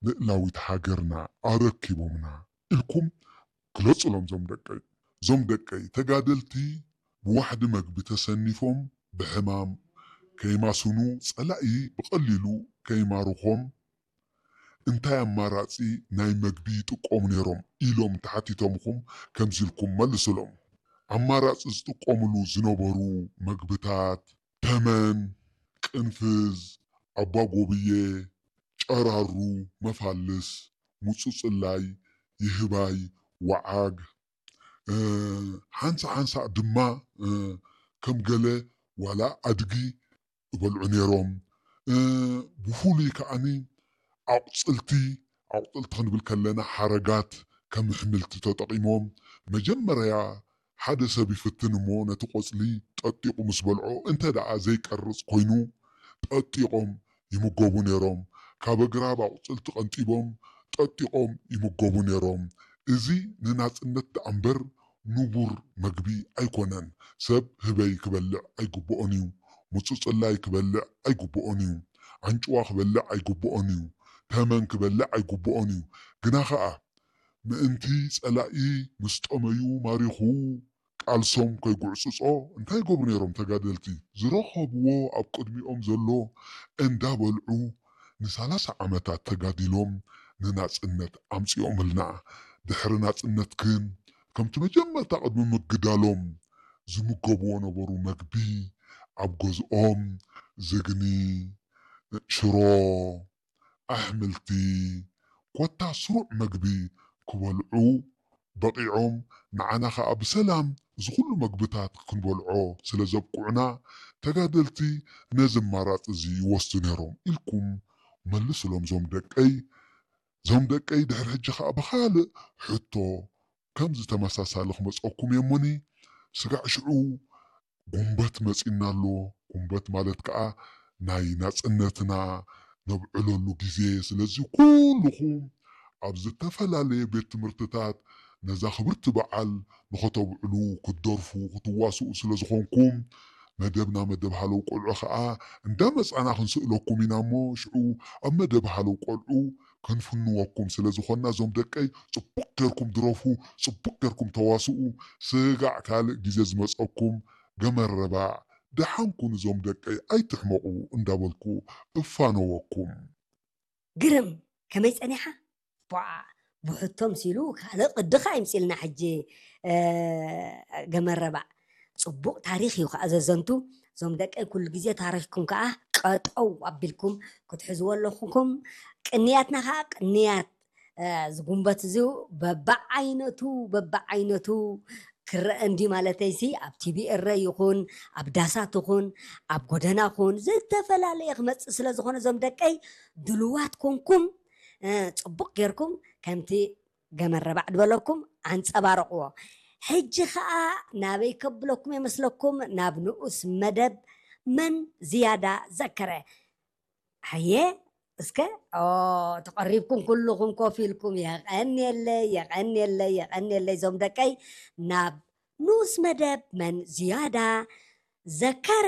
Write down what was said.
ልእላዊት ሃገርና ኣረኪቦምና ኢልኩም ግለጹሎም ዞም ደቀይ። ዞም ደቀይ ተጋደልቲ ብዋሕዲ መግቢ ተሰኒፎም ብሕማም ከይማስኑ ጸላኢ ብቐሊሉ ከይማርኾም እንታይ ኣማራጺ ናይ መግቢ ይጥቀሙ ነይሮም ኢሎም ተሓቲቶምኹም ከምዚ ኢልኩም መልሱሎም። ኣማራጺ ዝጥቀምሉ ዝነበሩ መግብታት ተመን፣ ቅንፍዝ፣ ኣባጎብየ፣ ጨራሩ፣ መፋልስ፣ ሙጹጽላይ፣ ይህባይ፣ ወዓግ፣ ሓንሳ ሓንሳ ድማ ከም ገለ ዋላ ኣድጊ ይበልዑ ነይሮም። ብፍሉይ ከዓኒ ኣቑፅልቲ ኣቑፅልቲ ክንብል ከለና ሓረጋት ከም ኣሕምልቲ ተጠቒሞም መጀመርያ ሓደ ሰብ ይፍትን እሞ ነቲ ቆፅሊ ጠጢቑ ምስ በልዖ እንተ ደኣ ዘይቀርፅ ኮይኑ ጠጢቖም ይምገቡ ነይሮም። ካብ ኣግራብ ኣቑፅልቲ ቀንጢቦም ጠጢቖም ይምገቡ ነይሮም። እዚ ንናፅነት ደኣ እምበር ንቡር መግቢ ኣይኮነን። ሰብ ህበይ ክበልዕ ኣይግብኦን እዩ። ሙፁፅላይ ክበልዕ ኣይግብኦን እዩ። ኣንጭዋ ክበልዕ ኣይግብኦን እዩ። ተመን ክበልዕ ኣይግብኦን እዩ። ግና ኸኣ ምእንቲ ጸላኢ ምስ ጠመዩ ማሪኹ ቃልሶም ከይጉዕጽጾ እንታይ ይገብሩ ነይሮም ተጋደልቲ? ዝረኸብዎ ኣብ ቅድሚኦም ዘሎ እንዳበልዑ ንሳላሳ ዓመታት ተጋዲሎም ንናጽነት ኣምጺኦምልና። ድሕሪ ናጽነት ግን ከምቲ መጀመርታ ቅድሚ ምግዳሎም ዝምገብዎ ነበሩ መግቢ ኣብ ገዝኦም ዝግኒ፣ ሽሮ፣ ኣሕምልቲ፣ ኮታ ስሩዕ መግቢ ክበልዑ በቒዖም፣ ንዓና ኸኣ ብሰላም እዚ ኹሉ መግብታት ክንበልዖ ስለ ዘብቅዑና፣ ተጋደልቲ ነዚ ኣማራጺ እዚ ይወስዱ ነይሮም ኢልኩም መልሱሎም ዞም ደቀይ። ዞም ደቀይ ድሕሪ ሕጂ ኸኣ ብኻልእ ሕቶ ከምዚ ተመሳሳሊ ክመጸኩም እየ እሞኒ፣ ስጋዕ ሽዑ ጉንበት መጺና ኣሎ። ጉንበት ማለት ከኣ ናይ ናጽነትና ነብዕለሉ ግዜ። ስለዚ ኩልኹም ኣብ ዝተፈላለየ ቤት ትምህርትታት ነዛ ክብርቲ በዓል ንኸተብዕሉ፣ ክትደርፉ፣ ክትዋስኡ ስለ ዝኾንኩም፣ መደብና መደብ ሃለው ቆልዑ ከኣ እንዳመጻና ክንስእለኩም ኢና እሞ፣ ሽዑ ኣብ መደብ ሃለው ቆልዑ ክንፍንወኩም ስለ ዝኾንና፣ እዞም ደቀይ ጽቡቕ ጌርኩም ድረፉ፣ ጽቡቕ ጌርኩም ተዋስኡ። ስጋዕ ካልእ ግዜ ዝመጸኩም ገመረባዕ፣ ደሓን ኩኑ እዞም ደቀይ ኣይትሕመቑ እንዳበልኩ እፋነወኩም። ግርም፣ ከመይ ጸኒሓ? ቧዕ፣ ብሕቶ ምሲሉ ካልእ ቅድኻ ይምጽልና ሕጂ፣ እ፣ ገመረባዕ። ጽቡቕ ታሪኽ እዩ ከኣ ዘዘንቱ። እዞም ደቀይ ኩሉ ግዜ ታሪኽኩም ከኣ ቀጠው ኣቢልኩም ክትሕዝዎ ኣለኹም። ቅንያትና ከኣ ቅንያት፣ እ፣ እዚ ጉንበት እዚ በብዓይነቱ፣ በብዓይነቱ ክረአ እንዲ ማለተይሲ፣ ኣብ ቲቪ ኤረ ይኹን፣ ኣብ ዳሳት ይኹን፣ ኣብ ጎደና ኹን፣ ዝተፈላለየ ክመጽእ ስለ ዝኾነ እዞም ደቀይ ድልዋት ኮንኩም፣ እ፣ ጽቡቕ ጌርኩም ከምቲ ገመረባዕ ድበለኩም ኣንጸባርቕዎ። ሕጂ ኸኣ ናበይ ከብለኩም የመስለኩም? ናብ ንኡስ መደብ መን ዝያዳ ዘከረ። ሃየ እስከ፣ ኦ፣ ተቐሪብኩም ኩልኹም ኮፍ ኢልኩም፣ የቐንየለይ፣ የቐንየለይ፣ የቐንየለይ። እዞም ደቀይ ናብ ንኡስ መደብ መን ዝያዳ ዘከረ።